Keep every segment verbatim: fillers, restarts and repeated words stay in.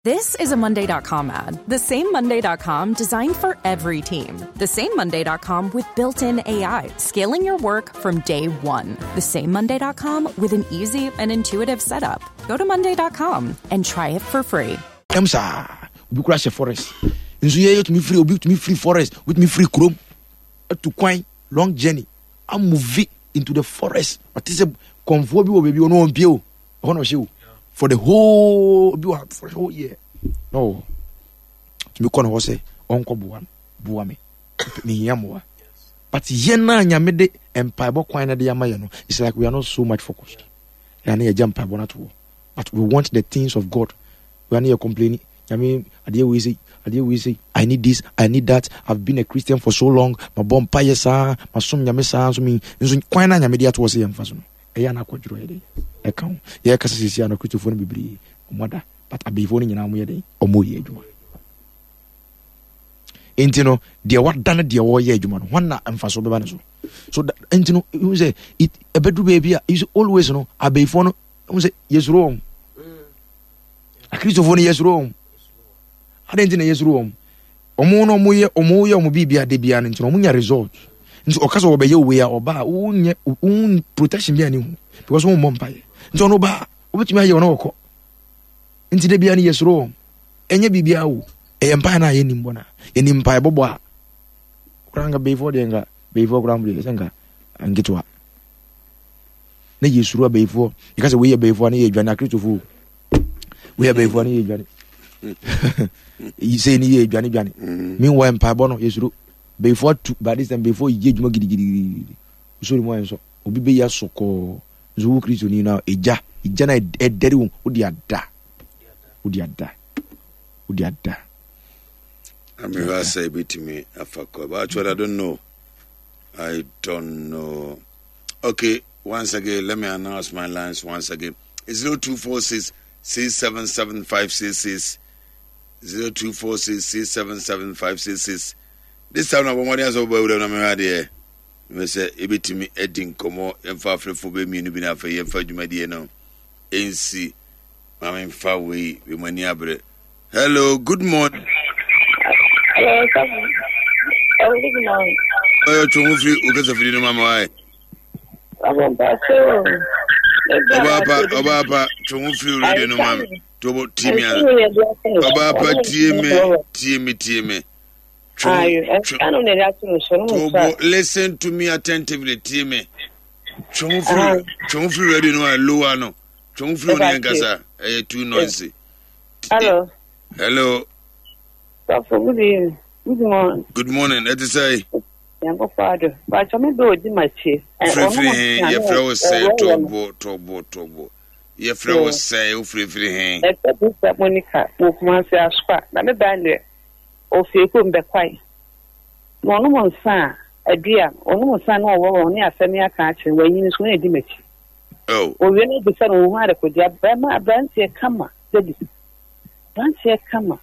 This is a Monday dot com ad. The same Monday dot com designed for every team. The same Monday dot com with built-in A I, scaling your work from day one. The same Monday dot com with an easy and intuitive setup. Go to Monday dot com and try it for free. Em sa, obi kura hyɛ forest. Nso yɛ yɛtumi firi, obi tumi firi forest, obi tumi firi kurom. Atu kwan, long journey. Amuvi into the forest. Ɔte sɛ kɔnfoɔ bi wɔ baabi, ɔno ɔmpie o. Ɔhɔ na ɔhyɛ o. For the whole, obi wɔ for the whole year. No. Tumi kɔ ne hɔ sɛ ɔnkɔ boa no, boa me. Mehia mmoa. But yɛn a Nyame de mpaebɔ kwan na de ama yɛn no, it's like we are not so much focused. Yɛn na yɛgya mpaebɔ no ato hɔ. But we want the things of God. We are not complaining. Nyame, adeɛ wei sei, adeɛ wei sei. I need this, I need that. I've been a Christian for so long. Mabɔ mpaeɛ saa, masom Nyame saa, nso me, nso kwan na Nyame de ato hɔ sɛ yɛmfa so no. Ɛyɛ ana akwadworɔ yɛ dɛn? Ɛka ho. Yɛkasa sisi ano Kristofoɔ no bebree, ɔmo ada. But abeyifoɔ no nyinaa ɔmo yɛ dɛn? Ɔmo yɛ adwuma. Nti no, deɛ wada no deɛ wɔyɛ adwuma no, hwan na mfasoɔ bɛba ne so? So that, nti no, ihu sɛ, it, ɛbɛduru baabi a, you see, always no, abeyifoɔ no, ihu sɛ, yɛsuro wɔn. Akristofoɔ no yɛsuro wɔn. Adɛn nti na yɛsuro wɔn? Ɔmo no ɔmo yɛ, ɔmo yɛ ɔmo biribi ade biara no nti no, ɔmo nya result. Nti ɔka sɛ ɔbɛyɛ wei a, ɔba a, wonyɛ, won protection bi a ne ho, because wɔn mmɔ mpaeɛ. Nti ɔno ba a, wobɛtumi ayɛ ɔno ɔkɔ. Nti da biara no yɛsuro wɔn. Ɛnyɛ biribiara o. Ɛyɛ mpaeɛ no a yɛnnim bɔ no a. Yɛnim mpaeɛ bɔbɔ a. Koraa nka bɛyifoɔ deɛ nka, bɛyifoɔ koraa deɛ sɛ nka nketewa. Na yɛsuro abɛyifoɔ. Yɛka sɛ wei yɛ bɛyifoɔ a na yɛdwane akristofoɔ. Wei yɛ bɛyifoɔ a na yɛdwane. Sei ne yɛ dwane dwane. Meanwhile mpaebɔ no yɛsuro. Bɛyifoɔ atu by this time bɛyifoɔ yɛ adwuma gidigidigidi. Wosɔre mu ayɛ nso obi bɛyi aso kɔɔ. Nso wo Kristoni no egya, egya na ɛdɛre wo, wode ada. Wode ada. Wode ada. Amehwɛ asɛ ebetumi afa kɔ. But actually I don't know. I don't know. Okay, once again, let me announce my lines once again. It's zero two four six six seven seven five six six. Zero two four six six seven seven five six six. This time, I'm going to ask you mehwɛ sɛ yɛbɛtumi adi nkɔmmɔ, yɛmfa afrɛfoɔ bɛyɛ mmienu bi na afei yɛmfa dwumadie no ɛnsi. Ma memfa wei, wei mu ani abere. Hello, good morning. Hello, sir. Oh, good morning. Ɔyɛ ɔtwe ho firi wo kasafidi no ma ma wae. Ɔbaapa, ɔbaapa, twe ho firi radio no ma me. Tobo, tie me ana. Ɔbaapa, tie me, tie me, tie me. Tobo, listen to me attentively, tie me. Twe ho firi, twe ho firi radio no a lower no. Twe ho firi wo ne nkasa, ɛyɛ too noisy. Hello. Hello. Sɔfo, good evening. Good morning. Good morning. Ɛte sɛ. Nyankopɔn ado. Bàtchɔ mi bɛ odi ma tie. Firifiri he yɛfrɛ wo sɛ tɔbo tɔbo tɔbo. Yɛfrɛ wo sɛ wofirifiri he. Ɛfɛ bi sɛ Monica wɔ Kumasi Asokwa na me ba deɛ ofie kurom bɛkwae. Na ɔnom nsa a adua ɔnom nsa na ɔwɔ wɔn ne asɛm yi aka akyerɛ wɔanyini so na edi m'akyi. Oh. Owie no bisa no ohun adekodeɛ bɛrima aberanteɛ kama dabi aberanteɛ kama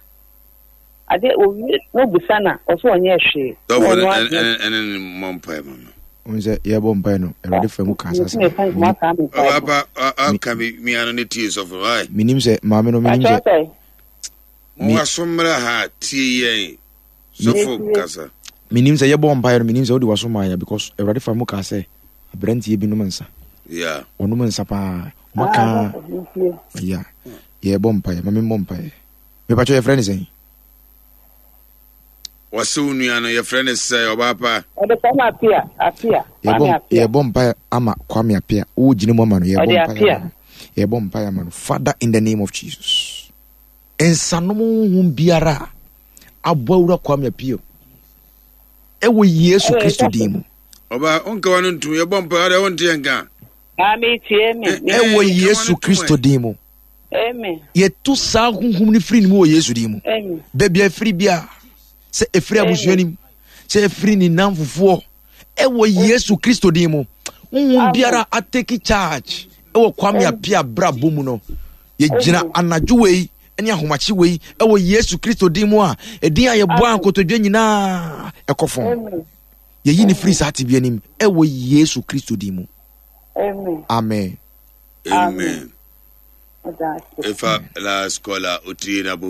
ade owie na obisa na ɔsɛ ɔnyɛ hwee. Dɔfo no ɛne ne mmɔ mpae ma no. Ohun sɛ yɛbɔ mpae no Awurade fa mu ka asase. Ɔba aka mi mia no ne tie sɔfo no. Menim sɛ maame no menim sɛ. Mo waso mmra ha tie yɛn sɔfo kasa. Menim sɛ yɛbɔ mpae no menim sɛ wode waso maa yɛ because Awurade fa mu ka sɛ aberanteɛ bi nom nsa. Yeah. Ɔnom nsa paa. Ɔma yeah. Yɛbɔ mpaeɛ ma memmɔ mpaeɛ. Mepakyɛ yɛfrɛ ne sɛn? Wɔse wo nua no yɛfrɛ ne sɛ ɔbaa pa. Ɔde Kwame Apia Apia. Yɛbɔ yɛbɔ mpaeɛ ama Kwame Apia. Wo gyina mu ama no yɛbɔ mpaeɛ ama no. Yɛbɔ mpaeɛ ama no. Father in the name of Jesus. Nsanom honhom biara a abɔ awura Kwame Apia ɛwɔ Yesu Kristo din mu. Ɔbaa wonka wa no ntom yɛbɔ mpaeɛ ɔde wonte yɛn ka. Maame tie me. Ɛwɔ Yesu Kristo din mu. Amen. Yɛto saa honhom no firi ne mu wɔ Yesu din mu. Baabi a ɛfiri bia sɛ ɛfiri abusua nim sɛ ɛfiri ne namfofoɔ ɛwɔ Yesu Kristo din mu. Honhom biara atake charge ɛwɔ Kwame Appiah abrabɔ mu no. Yɛgyina anadwo wei ne ahomakye wei ɛwɔ Yesu Kristo din mu a ɛdin a yɛbɔ a nkotodwe nyinaa ɛkɔ fam. Yɛyi ne firi saa tebea nim ɛwɔ Yesu Kristo din mu. Amen. Amen. Amen. Ɔda ase. Efa last caller, otiri na bo.